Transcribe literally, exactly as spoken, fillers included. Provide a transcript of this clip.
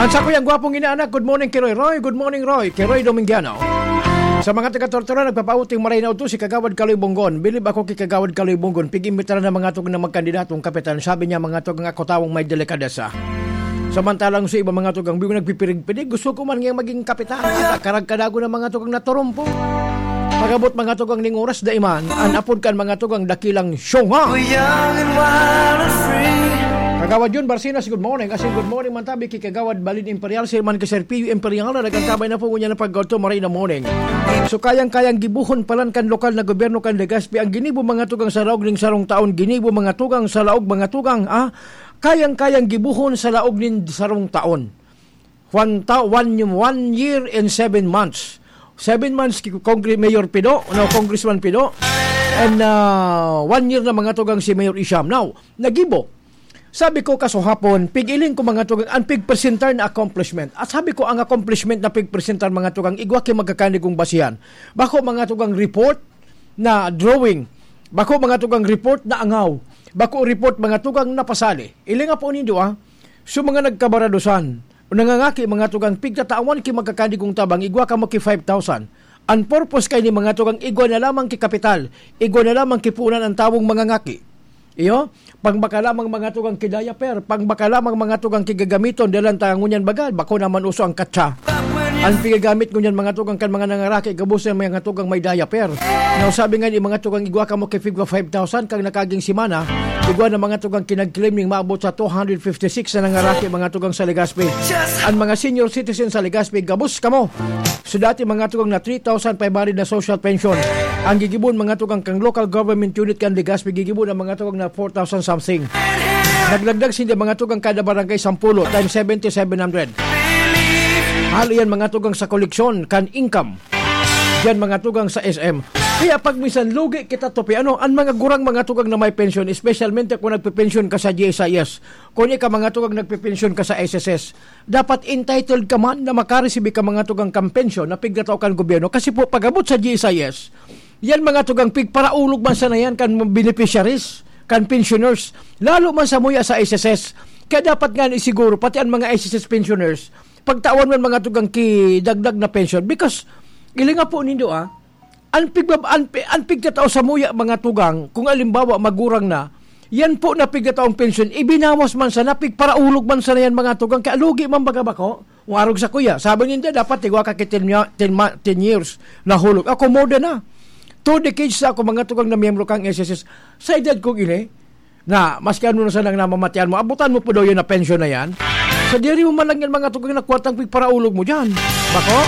Sa kuyang gwapong inaanak, good morning ki Roy. Roy, good morning, Roy. Ki Roy Domingiano. Sa mga taga Tortola, nagpapauting maray na udto si Kagawad Kaloy Bonggon. Bilib ako ki Kagawad Kaloy Bonggon. Pig-imbitaran na mga tugang na magkandidatong kapitan. Sabi niya, mga tugang, ako tawong may delikadesa. Samantalang sa iba, mga tugang, bigo nagpipirig-pirig, gusto ko man ngayang maging kapitan. At karag kadago na mga tugang na turumpo. Pag-abot mga tugang ning oras, daiman, an apod kan mga tugang dakilang syonga. Kagawad Jun Barcinas, good morning. Asin good morning man tabi ki Kagawad Balin Imperial, si man ki Sir Pio Imperial, na nagkantabay na po ngunyan ang pagkaulto, maray na morning. So, kayang-kayang gibuhon palan kan lokal na gobyerno kan Legazpi, ang ginibo mga tugang sa laog ning sarong taon, ginibo mga tugang sa laog, mga tugang, ah, kayang-kayang gibuhon sa laog nin sarong taon. One, ta- one, one year and seven months. Seven months ki Congre- Mayor Pido, no, Congressman Pido. And uh, one year na mga tugang si Mayor Isham. Now, nagibo. Sabi ko kasuhapon, pig-iling ko mga tugang, ang pigpresentar na accomplishment. At sabi ko, ang accomplishment na pigpresentar mga tugang, igwa ki magkakanigong basihan. Bako mga tugang report na drawing. Bako mga tugang report na angaw. Bako report mga tugang na pasali. Ilinga po nindo ah. So mga nagkabaradosan, nangangaki mga tugang pigtatawan ki magkakanigong tabang, igwa kamo ki five thousand. Ang purpose kay ni mga tugang igwa na lamang ki kapital, igwa na lamang ki punan ang tawong mangangaki. Iyo, pang baka lamang mga tugang ki diaper, pang baka lamang mga tugang ki gagamiton, dalan ta ngunyan baga, bako naman uso ang katsa. Ang pigagamit ngunyan mga tugang kan mga nangaraki, gabos na mga tugang may diaper. Now, sabi nga ni mga tugang igwa kamo ki figwa five thousand, kang nakaging simana, igwa na mga tugang kinag-claim ning maabot sa two hundred fifty-six na nangaraki mga tugang sa Legazpi. Ang mga senior citizen sa Legazpi, gabos kamo. So dati mga tugang na three thousand five hundred na social pension. Ang gigibon mga tugang kang local government unit kan Legazpi, gigibon ang mga tugang na four thousand something. Naglagdag sinda mga tugang kada barangay sampulo times seventy, seven hundred. Halo yan mga tugang sa koleksyon kan income. Diyan mga tugang sa S M. Kaya pag minsan lugi kita to, pi, ano, ang mga gurang mga tugang na may pensyon, especially kung nagpipensyon ka sa G S I S, kung ika mga tugang nagpipensyon ka sa S S S, dapat entitled ka man na makaresibi ka mga tugang kang pensyon na pigtatao kan gobyerno. Kasi po, pag-abot sa G S I S, yan mga tugang pigparaulog man sana yan kan mga beneficiaries, kan pensioners, lalo man sa muya sa S S S. Kaya dapat nga isiguro, pati ang mga S S S pensioners, pagtawan man mga tugang ki dagdag na pension. Because, ilinga po nindo ah, ang, pigba, ang, pi- ang pigtatao sa muya mga tugang, kung alimbawa magurang na, yan po na pigtataong pension, ibinawas man sana, pigparaulog man sana yan mga tugang, kaya lugi man baga bako. Warog sa kuya, sabi ninda dapat tigwa ka ki ten, mya- ten, ma- ten years na hulog. Ako more than na. Two decades na ako mga tugang na miyembro kang S S S. Sa edad kong ini, na maski ano na sanang namamatian mo, abutan mo po daw yun na pension na yan. Sa diri mo man lang yan mga tugang na kwartang pigparaulog mo dyan. Bako?